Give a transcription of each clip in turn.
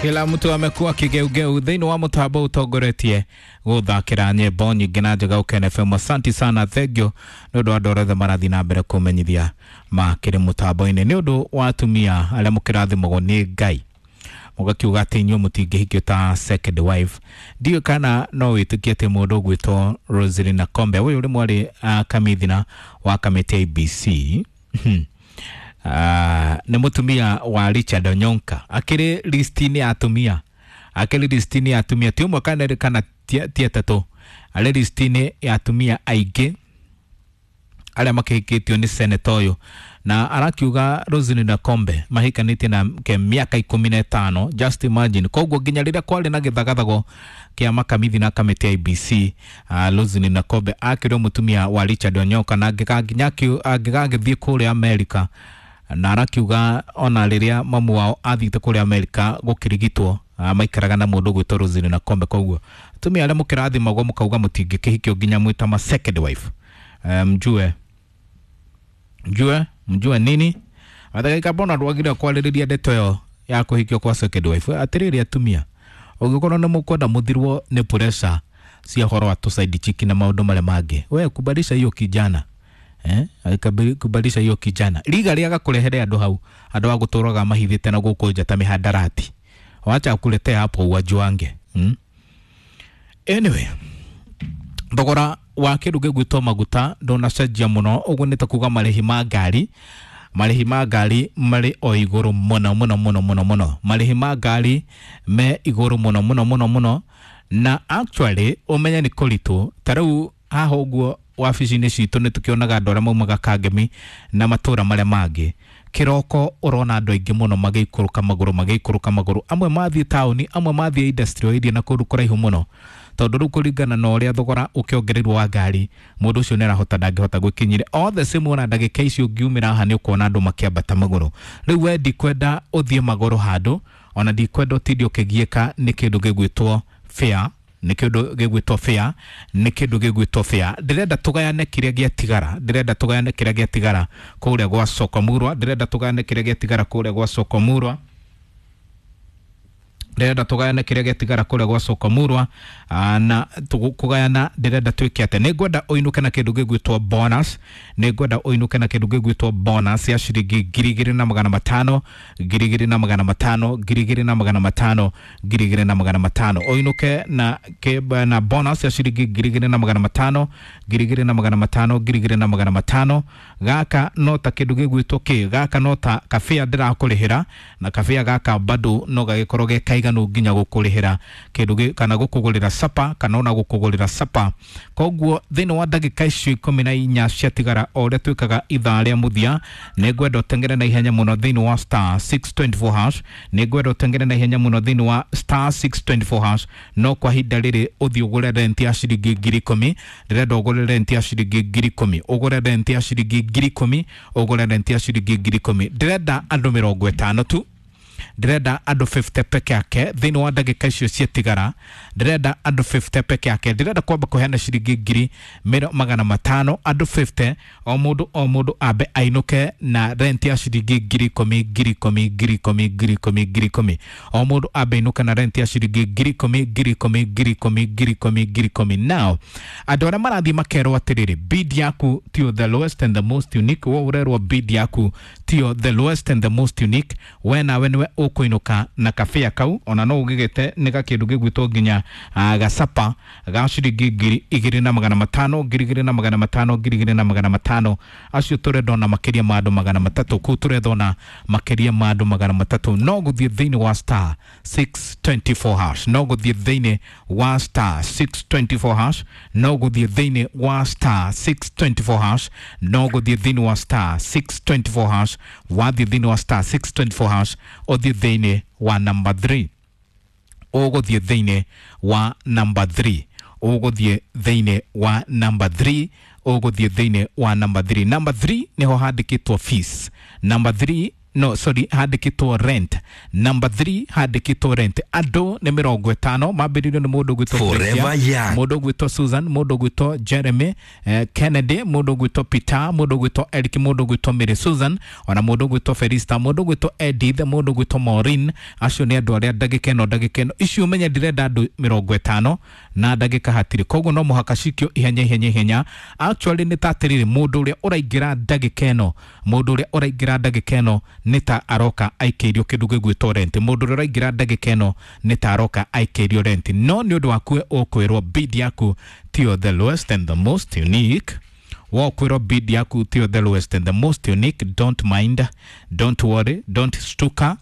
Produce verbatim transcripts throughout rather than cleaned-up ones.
Kila mtu amekuwa kigeugeu thĩinĩ wa mũtambo ũtongoretie gũthakĩra nyĩmbo nyingĩ na njega Ũkene F M. Asanti sana, thengio nĩ ũndũ wa andũ othe marathiĩ na mbere kũmenyithia makĩrĩ mũtambo-inĩ. Nĩ ũndũ wa atumia arĩa mũkĩrathimagwo nĩ Ngai, mũgakiuga atĩ inyuĩ mũtingĩhikio ta second wife. Ndiũĩ kana no wĩtĩkie atĩ mũndũ ũgwĩtwo Roselyn Nakombe, ũyũ ũrĩ mwarĩ uh, kamithina wa kamĩtĩ ya I E B C, uh, nĩ mũtumia wa Richard Onyonka, akĩrĩ listi-inĩ ya atumia, akĩrĩ listi-inĩ ya atumia ti ũmwe kana erĩ kana ti ti atatũ, arĩ listi-inĩ ya atumia aingĩ arĩa makĩhikĩtio nĩ seneta ũyũ. Na arakiuga Roselyn Nakombe mahikanĩtie nake mĩaka ikũmi na ĩtano. Just imagine. Koguo nginya rĩrĩa kwarĩ na gĩthagathago kĩa makamithi na kamĩtĩ ya I E B C, uh, Roselyn Nakombe akĩrĩ mũtumia wa Richard Onyonka, na angĩga- nginya angĩgagĩthiĩ kũrĩa Amerika. Na arakiuga ona rĩrĩa mamu wao athiĩte kũrĩa Amerika gũkĩrigitwo, uh, maikaraga na mũndũ ũgwĩtwo Roselyn Nakombe. Koguo atumia arĩa mũkĩrathimagwo mũkauga mũtingĩkĩhikio nginya mwĩta ma second wife, eh, mjue mjue mjue nini athagaika bona ndwagire kwarĩrĩria ndeto ĩyo ya kũhikio kwa second wife. Atĩrĩrĩ atumia, ũngĩkorwo nĩ mũkwenda mũthirwo nĩ pressure cia ũhoro wa tũ side chick na maũndũ marĩa mangĩ, we kubalisha hiyo kijana, eh Akabili- kubalisha hiyo kijana riga rĩa gakũrehere andũ hau, andũ a gũtũraga mahithĩte na gũkũ nja ta mihadarati. Wacha akuletea hapo uwajuange, hmm? Anyway, thogora wa kĩndũ gĩgwĩtwo maguta ndũnacenjia mũno. Ũguo nĩ ta kuga marĩhi ma ngari, marĩhi ma ngari marĩ o igũrũ mũno mũno mũno mũno mũno. Marĩhi ma ngari me igũrũ mũno mũno mũno mũno, na actually ũmenye nĩ kũritũ. Ta rĩu haha ũguo wabici-inĩ citũ nĩ tũkĩonaga andũ arĩa maumaga Kangemi na matũra marĩa mangĩ. Kĩroko ũrona andũ aingĩ mũno magĩikũrũka magũrũ, magĩikũrũka magũrũ, amwe mathiĩ taũni, amwe mathiĩ industrial area na kũndũ kũraihu mũno, tondũ rĩu kũringana na ũrĩa thogora ũkĩongereirwo wa ngari, mũndũ ũcio nĩ arahota ndangĩhota gwĩkinyĩra. All the same, ona ndagĩka icio ũngiumĩra haha nĩ ũkuona andũ makĩambata magũrũ. Rĩu we ndikwenda ũthiĩ magũrũ handũ, ona ndikwenda ũtinde ũkĩgiĩka nĩ kĩndũ gĩgwĩtwo fare, nĩ kĩndũ gĩgwĩtwo fare, nĩ kĩndũ gĩgwĩtwo fare. Ndĩrenda tũgayane kĩrĩa gĩatigara, ndĩrenda tũgayane kĩrĩa gĩatigara kũrĩa gwa soko murwa, ndĩrenda tũgayane kĩrĩa gĩatigara kũrĩa gwa soko murwa, ndĩrenda tũgayane kĩrĩa gĩatigara kũrĩa gwa soko murwa. Aa, na tũgũ- kũgayana ndĩrenda twĩke atĩa? Nĩ ngwenda ũinũke na kĩndũ gĩgwĩtwo bonus, nĩ ngwenda ũinũke na kĩndũ gĩgwĩtwo bonus ya ciringi ngiri igĩrĩ na magana matano, ngiri igĩrĩ na magana matano, ngiri igĩrĩ na magana matano, ngiri igĩrĩ na magana matano. Ũinũke na, kĩ- na bonus ya ciringi ngiri igĩrĩ na magana matano, ngiri igĩrĩ na magana matano, ngiri igĩrĩ na magana matano. Gaka no ta kĩndũ gĩgwĩtwo kĩ, gaka no ta kabĩa ndĩrakũrĩhĩra, na kabĩa gaka bado no gagĩkorwo ge kaiganu nginya gũkũrĩhĩra kĩndũ gĩ- kana gũkũgũrĩra sapa, kana ona gũkũgũrĩra sapa. Koguo thĩinĩ wa ndagĩka icio ikũmi na inya ciatigara, o ũrĩa twĩkaga ithaa rĩa mũthia, nĩ ngwenda ũtengere na ihenya mũno thĩinĩ wa star six two four hash, nĩ ngwenda ũtengere na ihenya mũno thĩinĩ wa star six two four hash. No kwa ihinda rĩrĩ ũthiĩ ũgũre rent ya ciringi ngiri ikũmi. Ndĩrenda ũgũre rent ya ciringi ngiri ikũmi, ũgũre rent ya ciringi ngiri ikũmi, ũgũre rent ya ciringi ngiri ikũmi. Ndĩrenda andũ mĩrongo ĩtano tu, ndĩrenda andũ fifty peke yake thĩinĩ wa ndagĩka icio ciatigara. Ndĩrenda andũ fifty peke yake. Ndĩrenda kwamba kũheana ciringi ngiri mĩro magana matano andũ fifty, o mũndũ o mũndũ ambe ainũke na rent ya ciringi ngiri ikũmi, ngiri ikũmi, ngiri ikũmi, ngiri ikũmi, ngiri ikũmi. O mũndũ ambe ainũke na rent ya ciringi ngiri ikũmi, ngiri ikũmi, ngiri ikũmi, ngiri ikũmi, ngiri ikũmi. Now andũ arĩa marathiĩ makerwo atĩrĩrĩ, bid yaku tiyo the lowest and the most unique, wo ũrerwo bid yaku tiyo the lowest and the most unique, we nawe nĩwe ũkũinũka na kabĩa kau. Ona no ũgĩgĩte nĩ gakĩndũ gĩgwĩtwo nginya uh, gacapa ga ciringi ngiri igĩrĩ na magana matano, ngiri igĩrĩ na magana matano, ngiri igĩrĩ na magana matano. Acio tũrenda ona makĩria ma andũ magana matatũ kũu, tũretha ona makĩria ma andũ magana matatũ. No gũthiĩ thĩinĩ wa star six two four hash, no gũthiĩ thĩinĩ wa star six two four hash, no gũthiĩ thĩinĩ wa star six two four hash, no gũthiĩ thĩinĩ wa star six two four hash. Wathiĩ thĩinĩ wa star six two four hash, ũthiĩ thĩinĩ wa number three, ũgũthiĩ thĩinĩ wa number three, ũgũthiĩ thĩinĩ wa number three, ũgũthiĩ thĩinĩ wa number three. Number three nĩho handĩkĩtwo fees. Number three. no sorry handĩkĩtwo rent. Number three handĩkĩtwo rent. Andũ nĩ mĩrongo ĩtano mambĩrĩirio nĩ mũndũ ũgwĩtwo Forever Young, mũndũ ũgwĩtwo Susan, mũndũ ũgwĩtwo Jeremy, eh, Kennedy, mũndũ ũgwĩtwo Peter, mũndũ ũgwĩtwo Eric, mũndũ ũgwĩtwo Mary Susan, ona mũndũ ũgwĩtwo Felista, mũndũ ũgwĩtwo Edith, mũndũ ũgwĩtwo Maureen. Acio nĩ andũ arĩa ndagĩka ĩno ndagĩka ĩno icio ũmenye ndĩrenda andũ mĩrongo ĩtano na ndagĩka hatirĩ, koguo no mũhaka cikio ihenya ihenya ihenya. Actually nĩ ta atĩrĩrĩ, mũndũ ũrĩa ũraingĩra ndagĩka ĩno, mũndũ ũrĩa ũraingĩra ndagĩka ĩno nĩ ta aroka aikĩirio kĩndũ gĩgwĩtwo rent. Mũndũ ũrĩa ũraingĩra ndagĩka ĩno nĩ ta aroka aikĩirio rent, no nĩ ũndũ waku ũkwĩrwo bid yaku tiyo the lowest and the most unique. Wokwĩrwo bid yaku tiyo the lowest and the most unique, don't mind, don't worry, don't stuka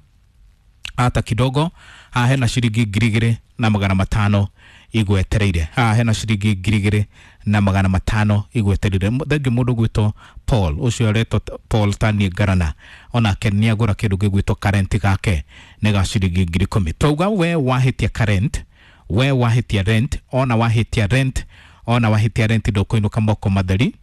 hata kidogo. Haha hena ciringi ngiri igĩrĩ na magana matano igwetereire. Haha hena ciringi ngiri igĩrĩ na magana matano igwetereire. Thengiũ mũndũ ũgwĩtwo Paul, ũcio aretwo Paul Tanie Ngarana, onake nĩ agũra kĩndũ gĩgwĩtwo karent gake nĩ ga ciringi ngiri ikũmi. Twauga we wahĩtia karent, we wahĩtia rent, ona wahĩtia rent, ona wahĩtia rent ndũkũinũka moko matheri.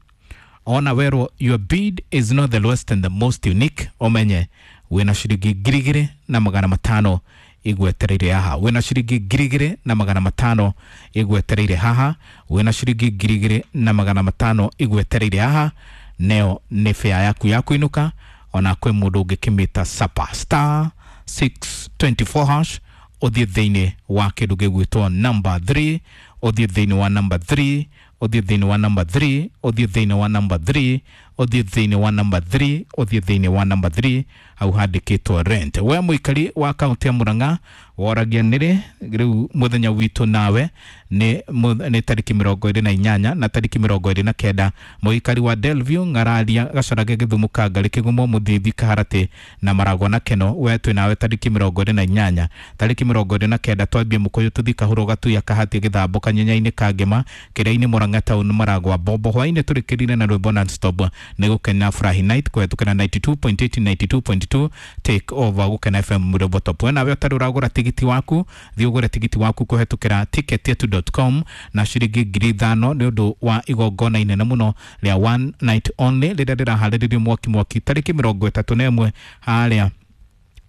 Ona werwo your bid is not the lowest and the most unique, ũmenye wĩna ciringi ngiri igĩrĩ na magana matano igwetereire haha. Wĩna ciringi ngiri igĩrĩ na magana matano igwetereire haha. Wĩna ciringi ngiri igĩrĩ na magana matano igwetereire haha. Neo nĩ fare yaku ya kũinũka, ona kwĩ mũndũ ũngĩkĩmĩta sapa. Star six twenty four hash, ũthiĩ thĩinĩ wa kĩndũ gĩgwĩtwo number three, ũthiĩ thĩinĩ wa number three, ũthiĩ thĩinĩ wa number three, ũthiĩ thĩinĩ wa number three, ũthiĩ thĩinĩ wa number three, ũthiĩ thĩinĩ wa number three, hau handĩkĩtwo rent. We mũikari wa kaunti ya Murang'a woragia nĩrĩ rĩu mũthenya witũ nawe nĩ nĩ tarĩki mĩrongo ĩrĩ na inyanya na tarĩki mĩrongo ĩrĩ na kenda. Mũikari wa Delview, Ng'araria, Gacarage, Gĩthumo, Kangarĩ, Kĩgumo, Mũthithi, Kaharatĩ na Maragwa na Keno, we twĩ nawe tarĩki mĩrongo ĩrĩ na inyanya. Tarĩki mĩrongo ĩrĩ na kenda twambie Mũkũyũ tũthiĩ Kahũrũ, Gatuya, Kahati, Gĩthambo, Kanyenya-inĩ, Kangema, Kĩrĩa-inĩ, Murang'a town, Maragwa, Bombo. Hwaĩ-inĩ tũrĩkĩrire na rwĩmbo non-stop nĩ Gũkena Furahi Night kũhetũkĩra ninety two point eight, ninety two point two take over Gũkena F M Mũrĩmbo Top. We nawe ũtarĩ ũragũra tigiti waku, thiĩ ũgũre tigiti waku kũhetũkĩra ticket yetu dot com na ciringi ngiri ithano nĩ ũndũ wa igongona inene mũno rĩa one night only rĩrĩa rĩraharĩrĩrio mwaki mwaki tarĩki mĩrongo ĩtatũ na ĩmwe harĩa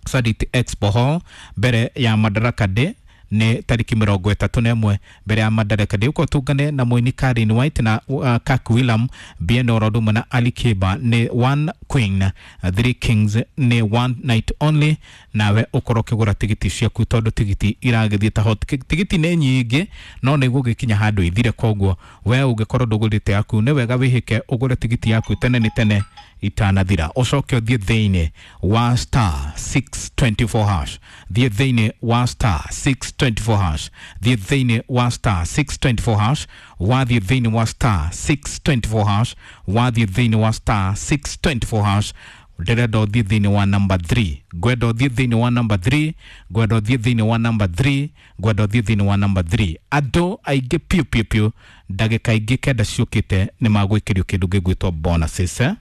Sarit Expo Hall mbere ya Madaraka Day nĩ tarĩki mĩrongo ĩtatũ na ĩmwe mbere ya Madaraka Day. Ũkorwo tũngane na mũini Karin White na uh, Kirk William, Bien Orodumo na Ali Kiba nĩ one queen three kings nĩ one night only. Nawe ũkorwo ũkĩgũra tigiti ciaku tondũ tigiti iragĩthiĩ ta hot cake. Tigiti nĩ nyingĩ no nĩ igũgĩkinya handũ ithire, koguo we ũngĩkorwo ndũgũrĩte yaku nĩ wega wĩhĩke ũgũre tigiti yaku tene nĩ tene itanathira. Ũcoke ũthiĩ thĩinĩ wa star six twenty four hash, thiĩ thĩinĩ wa star six twenty four hash, thiĩ thĩinĩ wa star six twenty four hash, wathiĩ thĩinĩ wa star six twenty four hash, wathiĩ thĩinĩ wa star six twenty four hash. Ndĩrenda ũthiĩ thĩinĩ wa number three, ngwenda ũthiĩ thĩinĩ wa number three, ngwenda ũthiĩ thĩinĩ wa number three, ngwenda ũthiĩ thĩinĩ wa number three. Andũ aingĩ piũ piũ piũ ndagĩka ingĩ kenda ciũkĩte nĩ magwĩkĩrio kĩndũ gĩgwĩtwo bonuses, eh?